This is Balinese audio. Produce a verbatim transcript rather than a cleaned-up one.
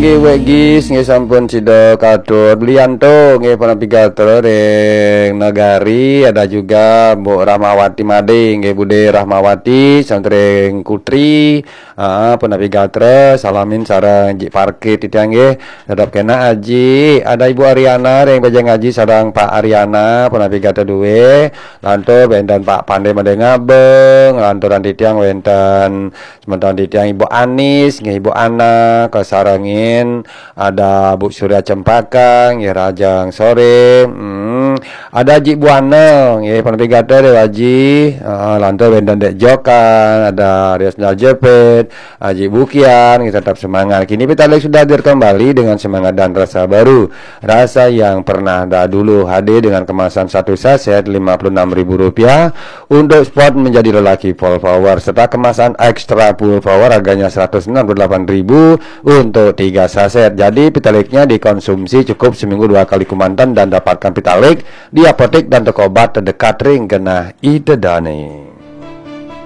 Nggih, Wek Gis, nggih sampun sida katur. Belianto, nggih, pun napi gatra ring Negari, ada juga Mbok Rahmawati Made, nggih, Bude Rahmawati, Santring Kutri, ah, pun napi gatra, salamin sareng Jik Parkit titiang, nggih. Tetep kena Aji, ada Ibu Ariana ring Pejeng Aji sareng Pak Ariana, pun napi gatra duwe. Lantur wenten Pak Pande Made Ngabeng, lanturan titiang wenten semeton titiang Ibu Anis, nggih, Ibu Ana, kasarengin ada Bu Surya Cempaka, nggih, rahajeng sore. Hmm, ada Jik Buana, nggih, pun napi gatra Dewa Aji. Ah, lantur wenten Dek Jokan, ada Rias Jepit, Aji Bukian, nggih, tetap semangat. Kini Pitalig sudah hadir kembali dengan semangat dan rasa baru. Rasa yang pernah dahulu hadir dengan kemasan satu saset lima puluh enam ribu rupiah untuk spot menjadi lelaki full power serta kemasan extra full power harganya seratus enam puluh delapan ribu untuk tiga saset. Jadi Pitalignya dikonsumsi cukup seminggu dua kali kemanten dan dapatkan Pitalig di apotek dan toko obat terdekat ring genah Ida Dane.